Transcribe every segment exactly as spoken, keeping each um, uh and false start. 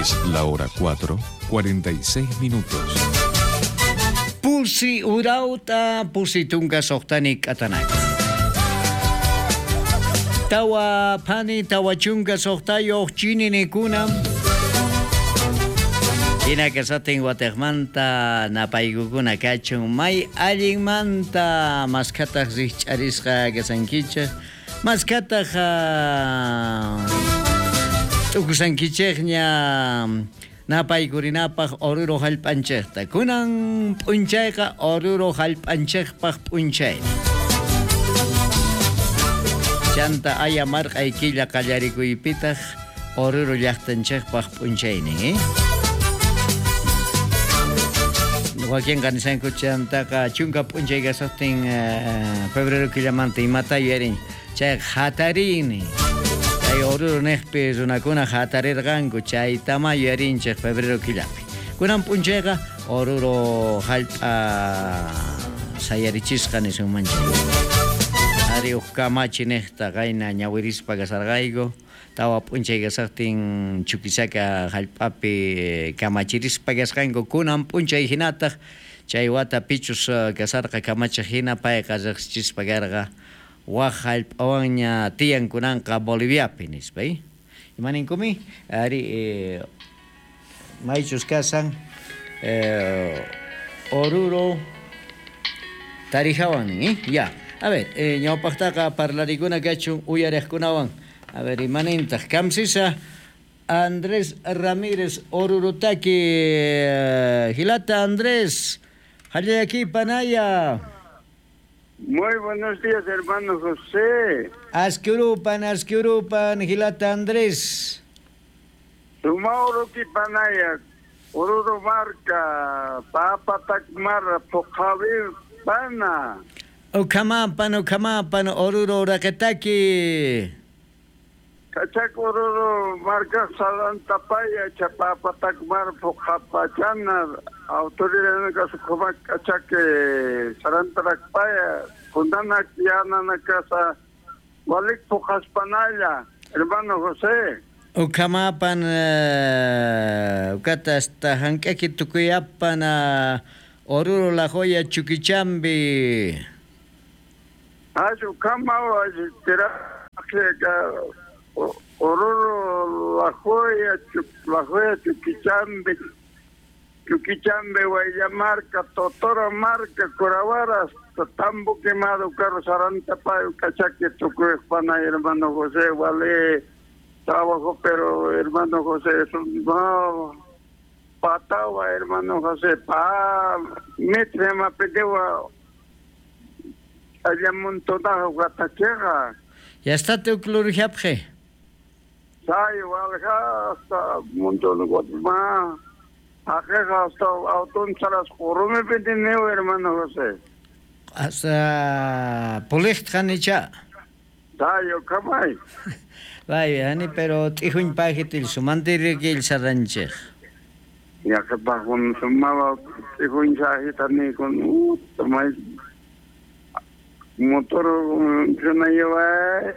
Es la hora cuatro, cuarenta y seis minutos. Pusi urauta, pusi tunka soqtani k'atanaka. Tawa phani, tawa chunka soqtayuq chininikuna. Hina kasatin watejmanta napaykukuna kachun may allinmanta maskhataq rikch'arisqa kasankichej maskhataq t'ukusankichejña napaykurinapaq Oruro hallp'anchejta kunan p'unchayqa Oruro hallp'anchejpaq p'unchay chanta aya marq'ay killa qallarikuypitaq Oruro llaqtanchejpaq p'unchaynin eh? Wakinqa nisanku chantaqa chunka p'unchay kasaqtin febrero killamanta imata yuyarin chayqa hatarini chay Oruro niqpi runakuna hatarirqanku chaytama yuyarinchik febrero killapi kunan p'unchayqa Oruro hallp'a sayarichisqa nisunmanchik ari uj kamachi niqta qayna ñawirispa kasarqayku tawa p'unchay kasaqtin Chuquisaca hallp'api kamachirispa kasqanku kunan p'unchay hinataq chay wata pichus kasarqa kamachiq hina payqa riqsichispa karqa waj hallp'awanña tiyan kunanqa Boliviapi nispa eh? Imaninkumi ari eh, maychus kasan eh, Oruro Tarijawan eh? Ya a ver eh, ñawpaqtaqa parlarikuna kachun uyariqkunawan. A ver, imanintaq kamsisa Andrés Ramírez Orurutaki Gilata Andrés Jallaki Panaya. Muy buenos días, hermano José. Asquiurupan, Asquiurupan, Gilata Andrés. Sumauruki Panaya, Oruro Marca, Papatakmara, Pochavir Pana. Ucamapan, Ucamapan, Oruro Raketaki. Kachak Oruro Marca Salantapaya, Chapapatakmar, Pocapachana, autoridad Kasukumak, Kachake, Sarantarakpaya, Kundanak, Yanana Casa, Walik Pocaspanaya, hermano José. Ucamapan, Ucata hasta Hankaki Tukuyapan, Oruro La Joya, Chuquichambi. Ayu Kama, Oruro La Joya, La Joya, Chuquichambi, Chuquichambi, Guayamarca, Totora Marca, Corabaras, Tambo Quemado, Carlos Arantapayo, Cachaque, Tucuespana, hermano José, vale, trabajo, pero hermano José, es un no, patagua, hermano José, pa, mitre, mapetewa, allá montonajo, guataqueja. Ya está tu clurjapje. Sai, walja, hasta montón guatemala. Ajeja, hasta autón salas jorume petineo, hermano José. Hasta pulichtjanicha. Sayo, kamay. Vaya, ani, pero tijuñ pajitil sumantirikil saranchej. Ya que bajón sumaba tijuñ sajitani con uh, tomay motor yo lleva.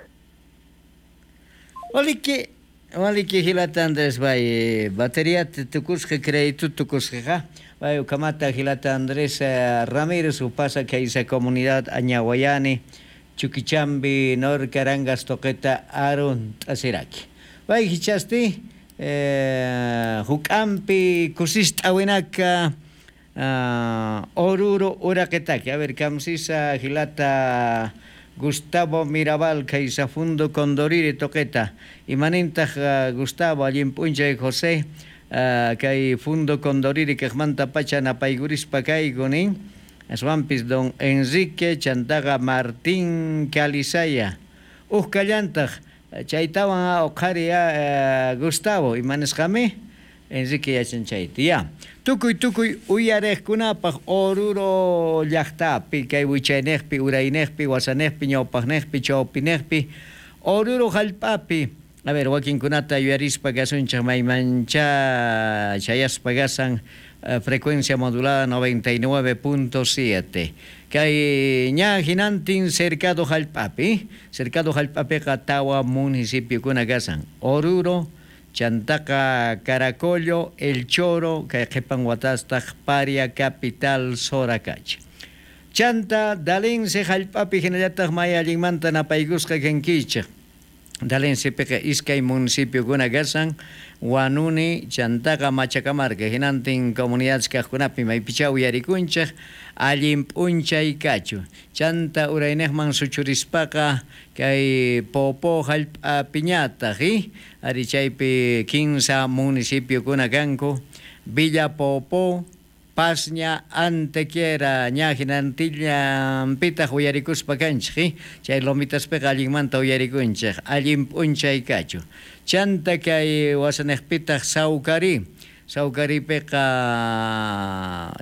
Oliki, oliki Gilata Andrés bay batería tukusqa crédito tukusqa bay ukamata Gilata Andrés Ramírez upasa que esa comunidad Añahuayani Chuquichambi Nor Carangas Toqueta Arun Tasiraki bay hichasti eh Jucampi Kusistawinaka uh, Oruro Uraquetaki a ver kamsisa Gilata Gustavo Mirabal, Caizafundo Condoriri Toqueta, Imanintaj uh, Gustavo, Allimpuncha y José, uh, Kay Fundo Condoriri, Quejmanta Pacha, Napaigurispa Kaigunin, Aswampis Don Enrique, Chantaga Martín Calizaya, Ujkallantaj, Chaytawan Oqaria Gustavo, Imanesjame, Enrique Yachanchayti, ya. Tukuy tukuy uyarejkunapaj Oruro llaqtapi kay wichaynejpi uraynejpi wasanejpi ñawpajnejpi chawpinejpi Oruro hallp'api a ver wakinkunata yuyarispa kasunchik maymancha chayaspa kasan uh, frecuencia modulada noventa y nueve punto siete kay ña hinantin cercado hallp'api cercado hallp'apiqa tawa municipiokuna kasan Oruro Chantaqa Caracollo, El Choro, kay qhipan watastaq Paria Capital Soracachi. Chanta Dalense hallp'api hinallataq may allinmanta napaykusqa kankichik. Dalensepiqa iskay municipiokuna kashan, Huanuni chantaqa Machacamarca, hinantin comunidades kaqkunapi maypichá uyarikunchik, allin p'unchay kachu. Chanta urayniqman suchurispaqa kay Poopó hallp'apiñataq, ari chaypi kinsa municipiokuna kanku, Villa Poopó, Pasña, Antequera, ña hinantillanpitaq uyarikuspa kanchik, chay lomitaspiqa allinmanta uyarikunchik, allin p'unchay kachu. Chanta kay wasaniqpitaq Saucarí, Saucaripiqa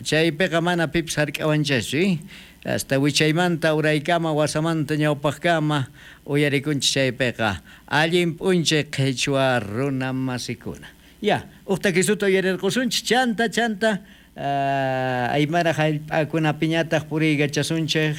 chaypiqa mana pipis hark'awanchaschu, hasta wichaymanta uraykama wasamanta ñawpaqkama uyarikunchik chaypiqa, allin p'unchay qhichwa runa masikuna. Ya, uqta kisuta uyarirqusunchik, chanta chanta Uh, aymara hallp'akunapiñataq puriykachasunchik.